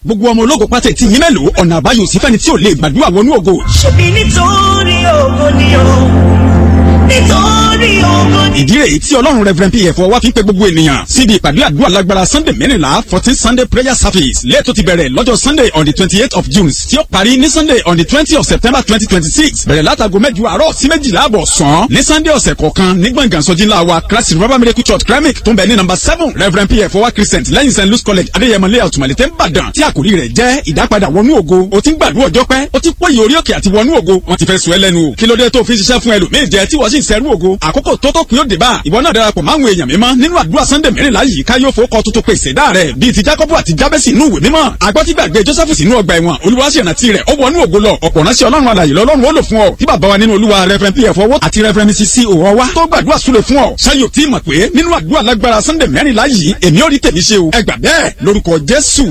Gbogbo ọmọ ológo pátá tí yín mélòó, ọ̀nà àbáyọ sí fẹ́ni tí ò lè gbàdúrà wọnú ògo. Ṣebí nítorí ògo ni o, nítorí ògo ni. Ìdí rèé tí Ọlọ́run Reverend Pf wá fi ń pe gbogbo ènìyàn síbi ìpàdé àdúrà lágbára Sunday 14, 14 Sunday prayer service lẹ́ẹ̀tọ́ ti bẹ̀rẹ̀ lọ́jọ́ Sunday on the 28th of June tí ó parí ní Sunday on the 20 of September 2026, bẹ̀rẹ̀ látago 8 àárọ̀ sí 12 àbọ̀ sàn ní Sunday ọ̀sẹ̀ kọ̀ọ̀kan ní gbọ̀ngàn sọjí ńlá wa, Christ Revival Miracle Church, Kremik, tó ń bẹ ní number 7 Reverend Pf Ọwá Crescent, lẹ́yìn St Louis College, Adéyẹmọ Layout, Mọ̀lẹ́tẹ̀, Ìbàdàn, tí àkòrí rẹ̀ jẹ́ ìdápadà wọnú ògo. O ti ń gbàdúrà ọjọ́ pẹ́, o ti pọ́yì orí òkè àti wọnú ògo, wọ́n ti fẹ́ sọ ẹ́ lẹ́nu o. Kí ló dé tó fi ń ṣiṣẹ́ fún ẹlòmíì jẹ tí wọ́n sì ń sẹ́rú ògo? Àkókò tó tó kún yóò dé bá ìwọ náà. Darapọ̀ máwọn èèyàn mímọ́ nínú àdúrà Sunday 14 yìí, ká yóò fowó tuntun pèsè dá rẹ̀, bíi ti Jacob àti Jabesi inú ìwé mímọ́. Agbọ́tígbàgbé Joseph sínú ọgbà ẹ̀wọ̀n, Olúwa sì rántí rẹ̀, ó wọnú ògo lọ. Ọ̀pọ̀ ránṣẹ́ Ọlọ́run alàyè lọ́lọ́run ó lò fún ọ, tí bàbá wa nínú Olúwa Reverend Pf Ọwọ́ àti Reverend Mrs C Òwò wa tó gbàdúrà súre fún ọ. Ṣáyò tí mọ̀ pé nínú àdúrà lágbára Sunday 14 yìí, èmi ò rí tèmi ṣe o. Ẹ gbà bẹ́ẹ̀ lórúkọ Jésù.